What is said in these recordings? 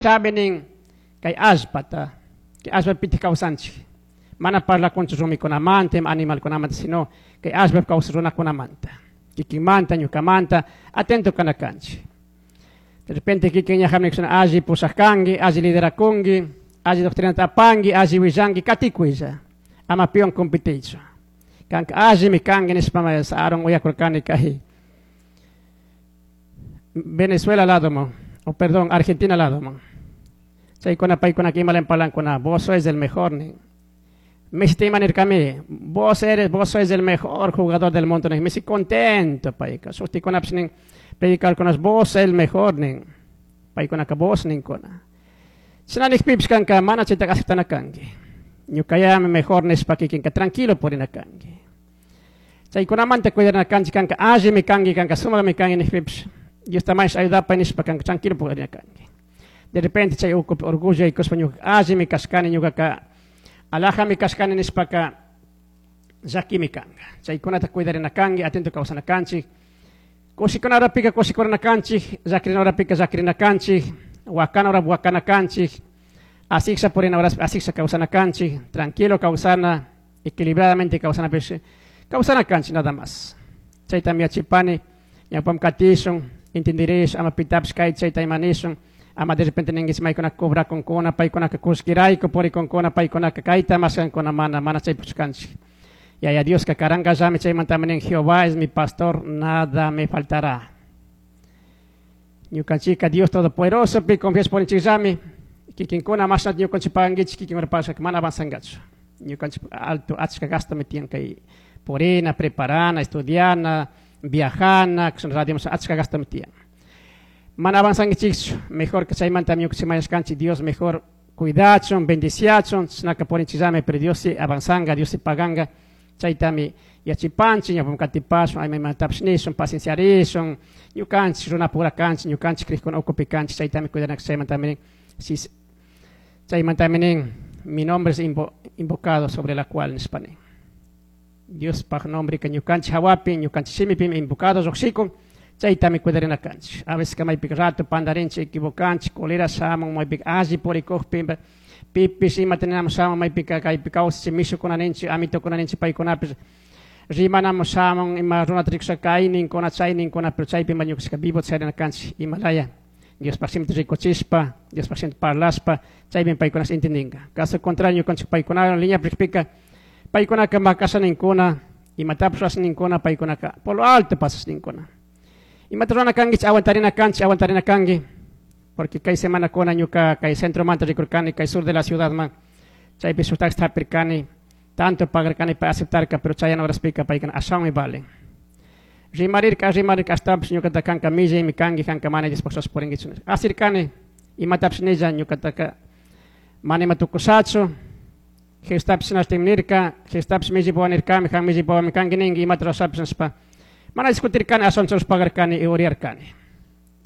Nin kay allpata, kay allpapitik kawsanchik. Mana parlakunchu rumikunamanta, animalkunamanta, sino kay allpapi kawsaq runakunamanta. Kikinmanta, ñukamanta, atento kana kanchik. De repente kikin ñahamni alli pusaq kanki, alli liderakunki, alli doctrinata apanki, alli willanki, katikuylla. Ama piwan competiychu. Kanka allimi kanki nishpa Aaron uyakurkani kay Venezuela lado mo, o perdón, Argentina lado mo. Chaykuna paykuna imalen parlankuna, vos sois el mejor ni. Messi ima nirkami, vos sois el mejor jugador del mundo ni. Messi contento payka. Shuktikunapis nin predicarkunas vos el mejor nin. Paykunaka vos ninkuna. Shina nikpipish kanka mana chaytaka aceptana kanki. Ñukayami mejor nishpa kikinka tranquilo purina kanki. Chaykunamanta cuidarna kanchik kanka allimi kanki kanka sumaqmi kanki nikpipish Diosta mash ayudapay nishpa kanka tranquilo purina kanki. De repente chay ukupi orgullo yaykushpa ñuka allimi kashkani ñukaka alajami kashkani nishpaka llakimi kanka. Chaykunata cuidarina kanki, atento kawsana kanchik. Kushikuna horapika kushikurina kanchik, llakirina horapika llakirina kanchik, wakana hora wakana kanchik, asiksha purina horas asiksha kawsana kanchik, tranquilo kawsana, equilibradamente kawsana pish, kawsana kanchik nada más. Chaytami yachipani, ñawpam katishun, entendirish, ama pitapish kay chayta imanishun, ama de repente ninguis maykuna cobrakunkuna, paykunaka kullkirayku purikunkuna, paykunaka kayta mashkankuna mana, mana chaypuchu kanchik. Yaya Dioska karankallami chaymantami nin Jehová es mi pastor, nada me faltará. Ñukanchika Dios Todopoderoso pi confias porinchikllami, kikinkuna mashnata ñukanchik pagankichik, kikinkuna pagashkaka mana avanzangachu. Ñukanchik alto achka gastomi tiyan kay purina, preparana, estudiana, viajana, radio achka gastomi tiyan. Mana avanzankichikchu, mejor que chaymantami ñukanchik mañashkanchik Dios mejor cuidachun, bendiciachun, chishnaka purinchikllami, pero Dios sí avanzanga, Dios sí paganga. Chaytami yachipanchik, ñawpam katipashun, aymaymantapish nishun, pacienciarishun, ñukanchik runapura kanchik, ñukanchik crikuna ukupi kanchik, chaytami cuidanak chaymantami nin, si, chaymantami nin, mi nombre es invocado sobre la cual nishpa nin. Diospaj nombre ka ñukanchik hawapi, ñukanchik shimipimi invocado lluqshikun, chaytami cuidarina kanchik. A veces maypika rato pandarinchik, equivocanchik, cólera shamun, maypika alli purikukpi, pipish imata ninamun shamun, maypika kaypi kawsachik mishukuna ninchik, amitukuna ninchik paykunapish rimanamun shamun, ima runata rikushka kayninkuna, chayninkuna, pero chaypi ima ñukanchikka vivo charina kanchik, imalaya Diospaj shimita rikuchishpa, Diospaj shimita parlashpa, chaypi paykunash entendinka. Caso contrario, ñukanchik paykunawan línea rikpika, paykunaka makasha ninkuna, imatapish rurasha ninkuna, paykunaka por lo alto pasasha ninkuna. Imata rurana kankichik, aguantarina kanchik, aguantarina kanki, porque kay semana kuna ñuka kay centromanta rikurkani, kay sur de la ciudad man, chaypi shuk taxi hapirkani, tanto pagarkani pa aceptarka, pero chayana horaspika paykuna ashawanmi valen. Rimarirka, rimarirka, ashtawanpish ñukata kanka millaymi kanki, kanka mana Diospaj rurashpa purinkichu nishpa. Asirkani, imatapish nilla ñukataka mana ima tukushachu, Jesustapish shinashtin nirka, Jesustapish millaypawa nirkami, kan millaypawami kanki ninki, imata rurashapish nishpa. Mana discutirkani, ashawan churashpa pagarkani y uriyarkani.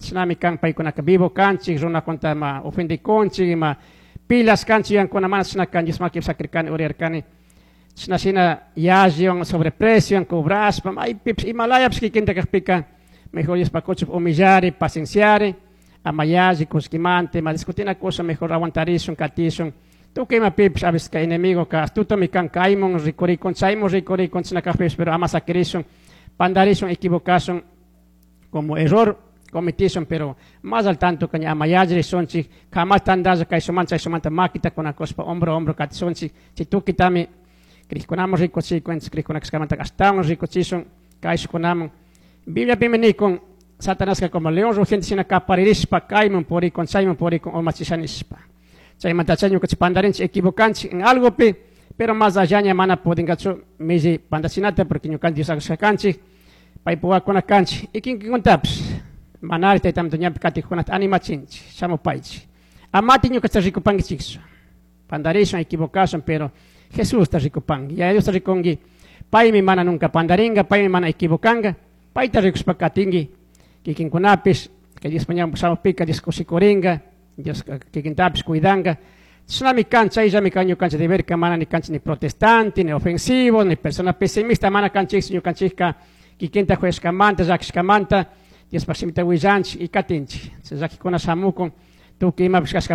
Shinami kan paykunaka vivo kanchik, runakunata ima ofendikunchik, ima pilas kanchik, yankuna mana shina kan, Dios makipi sakirkani, uriyarkani. Shina shina yalliwan sobreprecio, cobrashpa, maypipish, imalayapish kikinta kakpika, mejor Dios pakuchuk humillari, pacienciari, ama yalli kullkimanta, ima discutina cosa, mejor aguantarishun, katishun. Tukuy imapipish, a veces kay enemigo ka astutomi kan, kaymun rikurikun, chaymun rikurikun, chashna kakpipish, pero ama sakirishun, pandarishun, equivocashun, como error cometishun, pero más al tanto que ama yallirishunchik, jamás tandalla kayshumanta, chaysumanta makita kunakushpa, hombro a hombro katishunchik, chay tukitami krikkunaman rikuchikun, krikuna kashkamanta ashtawan rikuchishun, kayshukunaman. Bibliapimi nikun, Satanaska como león rugiente shina kaparirishpa, kayman purikun, chayman purikun, urmachisha nishpa. Chaymanta chay ñukanchik pandarinchik, equivocanchik en algopi, pero más allá ña mana pudinkachu milli pandachinata, porque ñukanchik Dios aklashka kanchik, paypa wawakuna kanchik. Y kinkinkunatapish, manari taytamanta ñapi katikkunata animachinchik, shamupaychik. Amati ñukanchikta rikupankichikchu. Pandarishun, equivocashun, pero Jesusta rikupanki. Yaya Diosta rikunki, paymi mana nunca pandaringa, paymi mana equivocanga, payta rikushpa katinki, kikinkunapish, kay Diospa ñawpa shamukpika Dios kushikuringa, Dios kikintapish cuidanga. Chishnami kan, chayllami kan ñukanchik deberka, mana ni kanchik ni protestante, ni ofensivo, ni persona pesimista, mana kanchikchu ñukanchikka kikinta juyashkamanta, llakishkamanta, Diospaj shimita willanchik y katinchik. Chay llakikuna shamukun, Tukuy imapish.